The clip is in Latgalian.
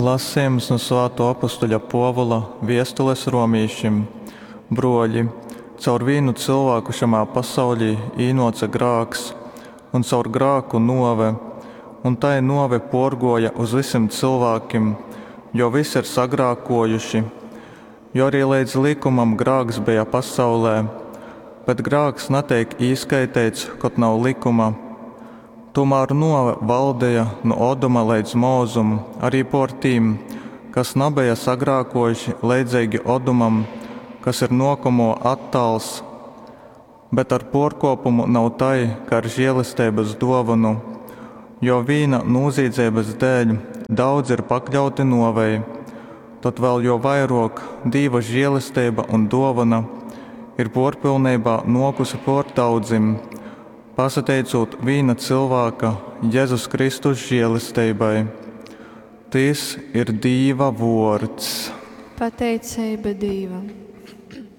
Lasejums nu svātuo apustuļa Puovula viestules romīšim. Bruoļi, caur vīnu cylvāku šamā pasauļī īnuoce grāks, un caur grāku nuove, un tai nuove puorguoja uz vysim cylvākim, jo vysi ir sagrākuojuši. Jo arī leidz lykumam grāks beja pasaulē, bet grāks nateik īskaiteits, kod nav lykuma. Tūmār nuove valdeja nu Oduma leidz Mozum arī puor tim, kas nabeja sagrākuojuši leidzeigi Odumam, kas ir nuokomuo attāls. Bet ar puorkuopumu nav tai, kai ar žielesteibys duovonu. Jo vīna nūzīdzeibys dēļ daudzi ir pakļauti nuovei, tod vēl jo vairuok Dīva žielesteiba un duovona ir puorpylneibā nuokuse puor daudzim, pasateicūt vīna cylvāka, Jezus Kristus žielesteibai. Tys ir Dīva vuords. Pateiceiba Dīvam.